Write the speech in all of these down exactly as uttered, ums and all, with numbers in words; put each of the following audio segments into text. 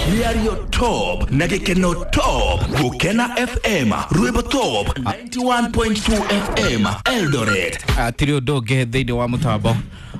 Mĩario top na gĩkeno top. Gũkena F M, Rwĩmbo Top ninety-one point two F M, Eldoret. Atirĩ ũndũ ũngĩ thĩinĩ wa mũtambo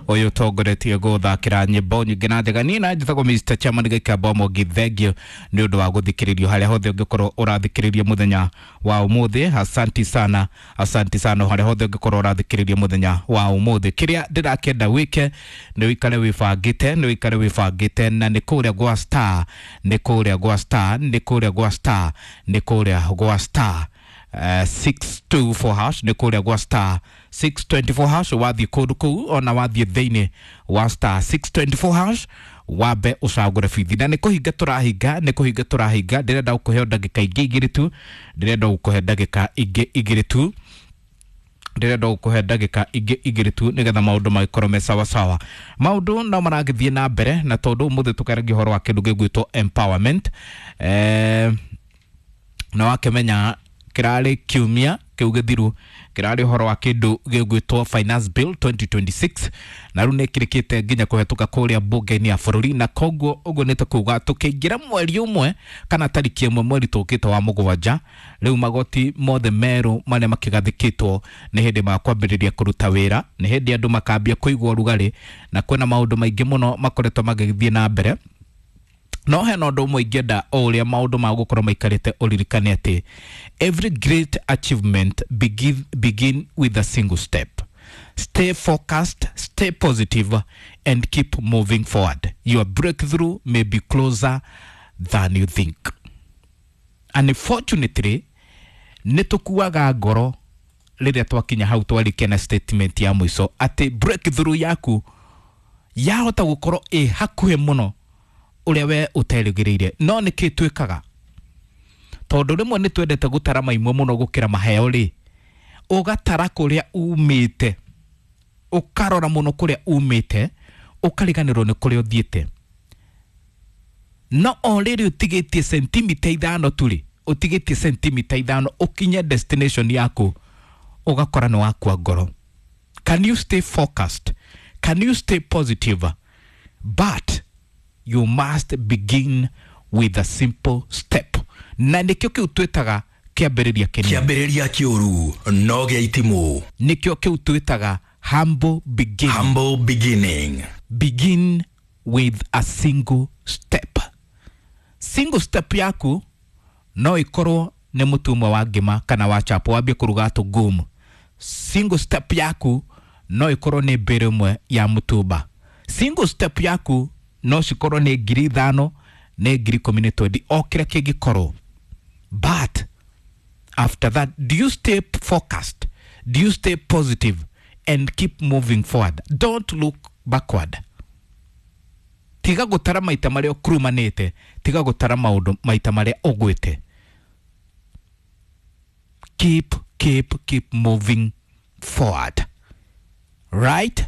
ũyũ ũtongoretie gũthakĩra nyĩmbo nyingĩ na njega. Niĩ na njĩtagwo Mister Chairman Gĩkamba Mũngi, thengiũ nĩ ũndũ wa gũthikĩrĩrio harĩa hothe ũngĩkorwo ũrathikĩrĩria mũthenya wa ũmũthĩ. Asanti sana, asanti sana harĩa hothe ũngĩkorwo ũrathikĩrĩria mũthenya wa ũmũthĩ. Kĩrĩa ndĩrakĩenda wĩke nĩ ũikare wĩbangĩte, nĩ ũikare wĩbangĩte, na nĩ kũrĩa gwa Star, nĩ kũrĩa gwa Star, nĩ kũrĩa gwa Star, nĩ kũrĩa gwa Star Uh, six two four hash, nĩ kũrĩa gwa star six twenty-four hash. Wathiĩ kũndũ kũu ona wathiĩ thĩinĩ wa star six twenty-four hash wambe ũcagũre bithi. Na nĩ kũhinga tũrahinga, nĩ kũhinga tũrahinga. Ndĩrenda gũkũhe ndagĩka ingĩ igĩrĩ tu, ndĩrenda gũkũhe ndagĩka ingĩ igĩrĩ tu, ndĩrenda gũkũhe ndagĩka ingĩ igĩrĩ tu nĩgetha maũndũ magĩkorwo me sawa sawa. Maũndũ no maragĩthiĩ na mbere, na tondũ ũmũthĩ tũkaragia ũhoro wa kĩndũ gĩgwĩtwo empowerment, eh, na wakĩmenya kĩrarĩ kiumia kĩu gĩthiru kĩrarĩ ũhoro wa kĩndũ gĩgwĩtwo Finance Bill twenty twenty-six, na rĩu nĩ kĩrĩkĩte nginya kũhetũka kũrĩa mbunge-inĩ ya bũrũri. Na koguo ũguo nĩ ta kuuga tũkĩingĩra mweri ũmwe kana tarĩki ĩmwe mweri tũkĩte wa mũgwanja, rĩu magoti mothe merũ marĩa makĩgathĩkĩtwo nĩ hĩndĩ makwambĩrĩria kũruta wĩra, nĩ hĩndĩ andũ makambia kũigua ũrugarĩ, na kwĩna maũndũ maingĩ mũno makoretwo magĩthiĩ na mbere. No hena ũndũ ũmwe ingĩenda o ũrĩa maũndũ ma gũkorwo maikarĩte ũririkane atĩ every great achievement begin, begin with a single step. Stay focused, stay positive and keep moving forward. Your breakthrough may be closer than you think. Unfortunately, nĩ tũkuaga ngoro rĩrĩa twakinya hau twarĩkia na statement ya mũico atĩ breakthrough yaku yahota gũkorwo ĩ hakuhĩ mũno ũrĩa we ũterĩgĩrĩire. No nĩkĩ twĩkaga? Tondũ rĩmwe nĩ twendete gũtara maimwe mũno gũkĩra maheo rĩ, ũgatara kũrĩa umĩte, ũkarora mũno kũrĩa umĩte, ũkariganĩrwo nĩ kũrĩa ũthiĩte. No o rĩrĩ ũtigĩtie sentimita ithano tu rĩ, ũtigĩtie sentimita ithano ũkinye destination yaku, ũgakora nĩ wakua ngoro. Can you stay focused? Can you stay positive? But you must begin with a simple step. Na nĩkĩo kĩu twĩtaga kĩambĩrĩria kĩnini. Kĩambĩrĩria kĩũru no gĩa itimũ. Nĩkĩo kĩu twĩtaga humble beginning. Humble beginning. Begin with a single step. Single step yaku no ikorwo nĩ mũtu ũmwe wa ngima kana wa chapo wambie kũruga tũngumu. Single step yaku no ikorwo nĩ mbĩrĩ ĩmwe ya mũtumba. Single step yaku no cikorwo nĩ ngiri ithano, nĩ ngiri ikũmi nĩ twendi, o kĩrĩa kĩngĩkorwo. But after that, do you stay focused? Do you stay positive and keep moving forward? Don't look backward. Tiga gũtara maita marĩa ũkurumanĩte, tiga gũtara maũndũ maita marĩa ũgwĩte. Keep, keep, keep moving forward. Right?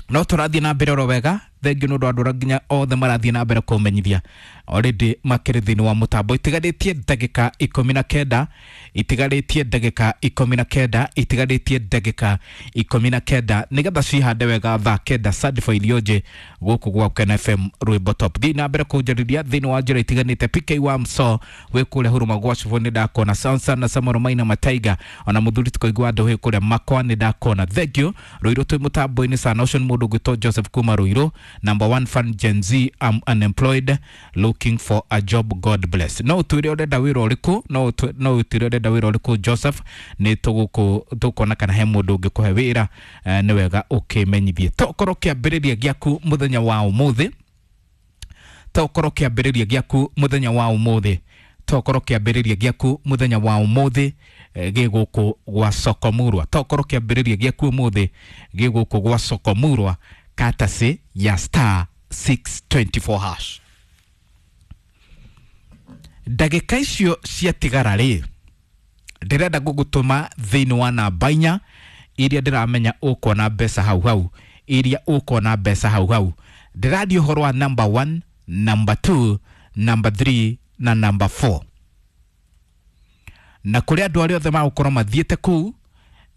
No tũrathiĩ na mbere oro wega. Thengiũ nĩ ũndũ wa andũ arĩa nginya othe marathiĩ na mbere kũmenyithia already makĩrĩ thĩinĩ wa mũtambo. Itigarĩtie ndagĩka ikũmi na kenda, itigarĩtie ndagĩka ikũmi na kenda, itigarĩtie ndagĩka ikũmi na kenda nĩgetha cihande wega thaa kenda Certified Ilioje gũkũ gwa Gũkena F M Rwĩmbo Top. Thiĩ na mbere kũnjarĩria thĩinĩ wa njĩra itiganĩte. P K wa Mso wĩ kũrĩa Huruma gwa Cibũ nĩ ndakona, Sansa na Samuel Maina Mataiga ona mũthuri tũkoigua andũ wĩ kũrĩa Makwa nĩ ndakona. Thank you. Rũirũ twĩ mũtambo-inĩ sana. Ũcio nĩ mũndũ ũgwĩtwo Joseph kuma Rũirũ. Number one fan Gen Z, I'm unemployed looking for a job, God bless. No ũtwĩre ũrenda wĩra ũrĩkũ, no ũtwĩre, no ũtwĩre ũrenda wĩra ũrĩkũ Joseph, nĩ tũgũkũ, tũkuona kana he mũndũ ũngĩkũhe wĩra, eh, nĩ wega ũkĩmenyithie. Tokorwo kĩambĩrĩria gĩaku mũthenya wa ũmũthĩ, tokorwo kĩambĩrĩria gĩaku mũthenya wa ũmũthĩ, tokorwo kĩambĩrĩria gĩaku mũthenya wa ũmũthĩ, eh, gĩ gũkũ gwa Sokomurwa. Tokorwo kĩambĩrĩria gĩaku ũmũthĩ gĩ gũkũ gwa Sokomurwa, katasi ya star six twenty-four hash. Ndagĩka icio ciatigara rĩ, ndĩrenda gũgũtũma thĩinĩ wa namba inya iria ndĩramenya ũkuona mbeca hau hau, iria ũkuona mbeca hau hau. Ndĩraria ũhoro wa number one, number two, number three na number four. Na kũrĩ andũ arĩa othe magũkorwo mathiĩte kũu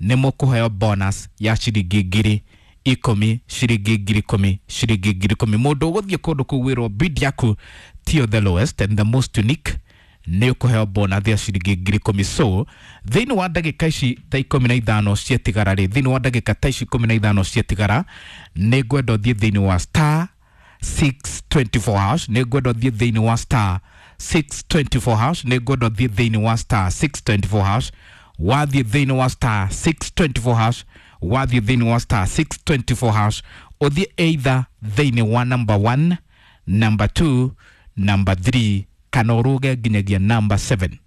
nĩ mũkũheo bonus ya ciringi ngiri ikũmi, ciringi ngiri ikũmi, ciringi ngiri ikũmi. Mũndũ ũgũthiĩ kũndũ kũu wĩrwo bid yaku Tiyo the lowest and the most unique nĩ ũkũheo bonus ya ciringi ngiri ikũmi. So thĩinĩ wa ndagĩka ici ta ikũmi na ithano ciatigara rĩ, thĩinĩ wa ndagĩka ta ici ikũmi na ithano ciatigara, nĩ ngwenda ũthiĩ thĩinĩ wa star six twenty four hash, nĩ ngwenda ũthiĩ thĩinĩ wa star six twenty four hash, nĩ ngwenda ũthiĩ thĩinĩ wa star six twenty four hash. Wathiĩ thĩinĩ wa star six twenty four hash, wathiĩ thĩinĩ wa star six twenty four hash, ũthiĩ either thĩinĩ wa number one, number two, number three, kana ũrũge nginyagia number seven,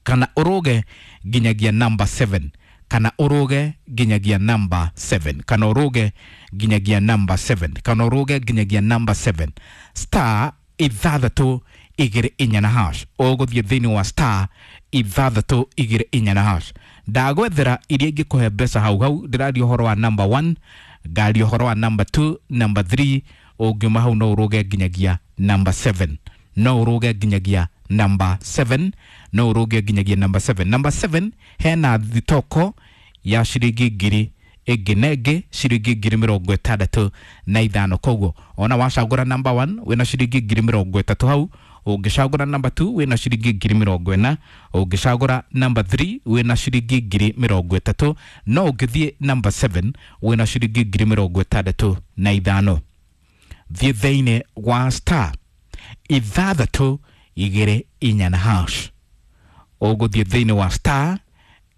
kana ũrũge nginyagia number seven, kana ũrũge nginyagia number seven, kana ũrũge nginyagia number seven, kana ũrũge nginyagia number seven, star ithathatũ igĩrĩ inya na hash. Ũgũthiĩ thĩinĩ wa star ithathatũ igĩrĩ inya na hash. Ndagwethera iria ingĩkũhe mbeca hau hau. Ndĩraria ũhoro wa number one, ngaria ũhoro wa number two, number three. Ũngiuma hau no ũrũge nginyagia number seven, no ũrũge nginyagia number seven, no ũrũge nginyagia number seven. Number seven hena thitoko ya ciringi ngiri ĩngĩ na ĩngĩ ciringi ngiri mĩrongo ĩtandatũ na ithano. Koguo ona wacagũra number one wĩna ciringi ngiri mĩrongo ĩtatũ hau, ũngĩcagũra number two wĩna ciringi ngiri mĩrongo ĩna, ũngĩcagũra number three wĩna ciringi ngiri mĩrongo ĩtatũ, no ũngĩthiĩ number seven wĩna ciringi ngiri mĩrongo ĩtandatũ na ithano. Thiĩ thĩinĩ wa star ithathatũ igĩrĩ inya na hash. Ũgũthiĩ thĩinĩ wa star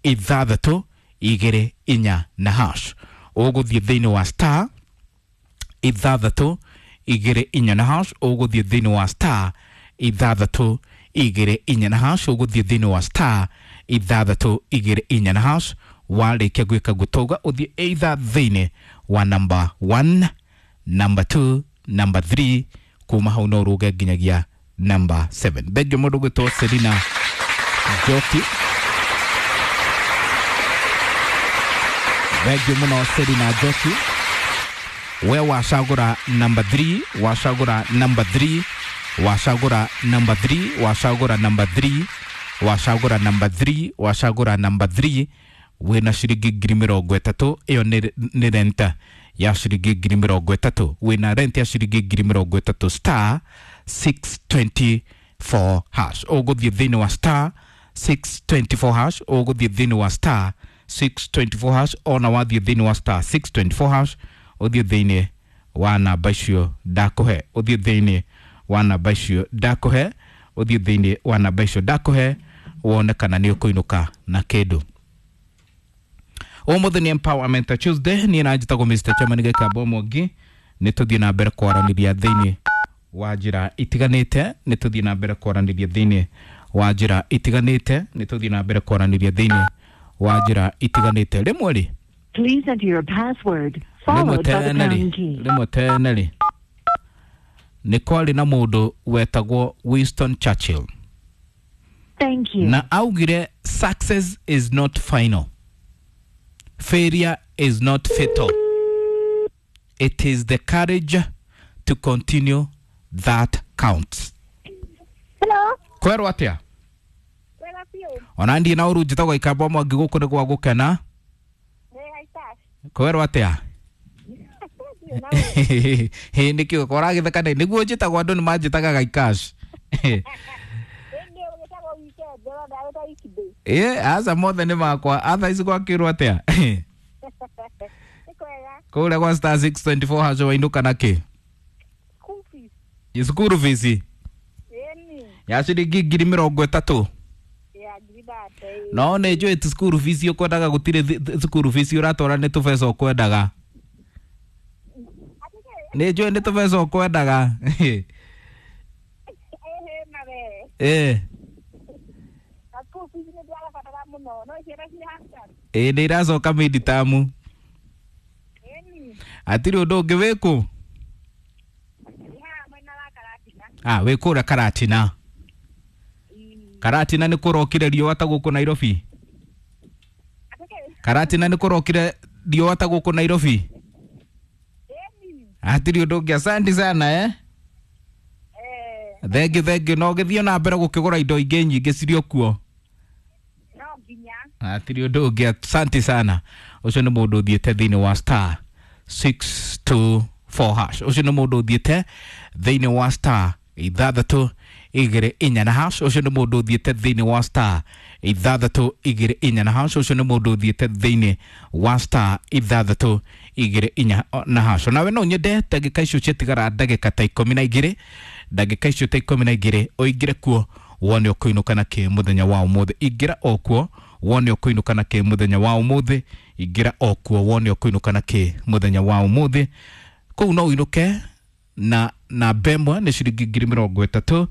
ithathatũ igĩrĩ inya na hash. Ũgũthiĩ thĩinĩ wa star ithathatũ igĩrĩ inya na hash. Ũgũthiĩ thĩinĩ wa star ithathatũ igĩrĩ inya na hash. Ũgũthiĩ thĩinĩ wa star ithathatũ igĩrĩ inya na hash. Warĩkia gwĩka gũtauga ũthiĩ either thĩinĩ wa number one, number two, number three, kuma hau no ũrũge nginyagia number seven. Thengio mũndũ gwĩtwo Selina Njoki, thengio mũno Selina Njoki. We wacagũra number three, wacagũra number three, wacagũra number three, wacagũra number three, wacagũra number three, wacagũra number three, wĩna ciringi ngiri mĩrongo ĩtatũ. Ĩyo nĩ nĩ renta ya ciringi ngiri mĩrongo ĩtatũ, wĩna rent ya ciringi ngiri mĩrongo ĩtatũ, star six twenty four hash. Ũgũthiĩ thĩinĩ wa star six twenty four hash, ũgũthiĩ thĩinĩ wa star six twenty four hash. Ona wathiĩ thĩinĩ wa star six twenty four hash, ũthiĩ thĩinĩ wa namba icio ndakũhe, ũthiĩ thĩinĩ wa namba icio ndakũhe, ũthiĩ thĩinĩ wa namba icio ndakũhe, wone kana nĩ ũkũinũka na kĩndũ. Ũmũthĩ nĩ Empowerment Tuesday. Niĩ na njĩtagwo Mister Chairman Gĩkamba Mwangi. Nĩ tũthiĩ na mbere kwaranĩria thĩinĩ wa njĩra itiganĩte, nĩ tũthiĩ na mbere kwaranĩria thĩinĩ wa njĩra itiganĩte, nĩ tũthiĩ na mbere kwaranĩria thĩinĩ wa njĩra itiganĩte. Rĩmwe rĩ, Please enter your password rĩmwe followed by the tene rĩ, pound key. rĩmwe tene rĩ, nĩ kwarĩ na mũndũ wetagwo Winston Churchill. Thank you. Na augire success is not final, failure is not fatal, it is the courage to continue that counts. Hello. Kwerwo atĩa? Wega biũ. Ona ndiĩ na ũru, njĩtagwo Ikamba Mwangi, gũkũ nĩ gwa gũkena. Nĩ haitash. Kwerwo atĩa? Ndiũ na ũru. Hĩ, nĩkĩo koragĩtheka nĩ nĩguo njĩtagwo, andũ nĩ manjĩtaga Gaikash. Rĩngĩ ũgĩtagwo weekend, ndĩrona wĩta weekday. Ĩ aca, mothe nĩ makwa. Atha ici gwakĩrwo atĩa? Nĩ kwega. Kũrĩa gwa star six twenty four haco wainũka na kĩ? School fees. Cukuru fees Ĩni. ya ciringi ngiri mĩrongo ĩtatũ. Ya ngiri thate. Ĩ. No nĩ njũĩ ti cukuru fees ũkwendaga, gũtirĩ thi- thi- cukuru fees ũratwara nĩ tũbeca ũkwendaga. Atĩ kĩ? Nĩ njũĩ nĩ tũbeca ũkwendaga. Ĩhĩ na we. Ĩ. Na school fees nĩ ndĩrabatara mũno. No ciana ciĩ half term. Ĩ, nĩ iracoka mid-term. Ĩni. Hatirĩ ũndũ ũngĩ. Wĩkũ? Ndĩ haha mwena wa Karatina. Ah, wĩ kũrĩa Karatina? Ĩ. Karatina nĩ kũrokire riũa ta gũkũ Nairobi? Atĩ kĩ? Karatina nĩ kũrokire riũa ta gũkũ Nairobi? Ĩni. Hatirĩ ũndũ ũngĩ, asante sana eh. Eh. Thengi thengi, no gĩthiĩ na mbere gũkĩgũra indo ingĩ nyingĩ cirĩ o kuo. No nginya. Hatirĩ ũndũ ũngĩ, asante sana. Ũcio nĩ mũndũ ũthiĩte thĩinĩ wa star six two four hash. Ũcio nĩ mũndũ ũthiĩte thĩinĩ wa star ithathatũ igĩrĩ inya na hash. Ũcio nĩ mũndũ ũthiĩte thĩinĩ wa star ithathatũ igĩrĩ inya na hash. Ũcio nĩ mũndũ ũthiĩte thĩinĩ wa star ithathatũ igĩrĩ inya na hash. Nawe no nyende ndagĩka icio ciatigara ndagĩka ta ikũmi na igĩrĩ, ndagĩka icio ta ikũmi na igĩrĩ ũingĩre kuo wone ũkũinũka na kĩ mũthenya wa ũmũthĩ. Ingĩra o kuo wone ũkũinũka na kĩ mũthenya wa ũmũthĩ. Ingĩra o kuo wone ũkũinũka na kĩ mũthenya wa ũmũthĩ. Kũu no ũinũke na namba ĩmwe nĩ ciringi ngiri mĩrongo ĩtatũ,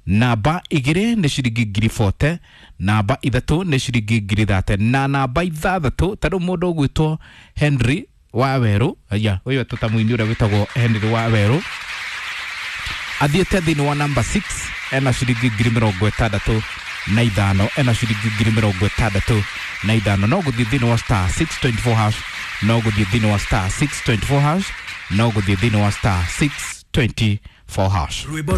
namba igĩrĩ nĩ ciringi ngiri bote, namba ithatũ nĩ ciringi ngiri thate, na namba ithathatũ ta rĩu mũndũ ũgwĩtwo Henry Wawerũ, aya ũyũ etwo mũini ũrĩa wĩtagwo Henry Wawerũ, athiĩte thĩinĩ wa namba six ena ciringi ngiri mĩrongo ĩtandatũ na ithano, ena ciringi ngiri mĩrongo ĩtandatũ na ithano. No gũthiĩ thĩinĩ wa star six twenty four hash, no gũthiĩ thĩinĩ wa star six twenty four hash, no gũthiĩ thĩinĩ wa star six twenty four hash. Rwĩmbo rwa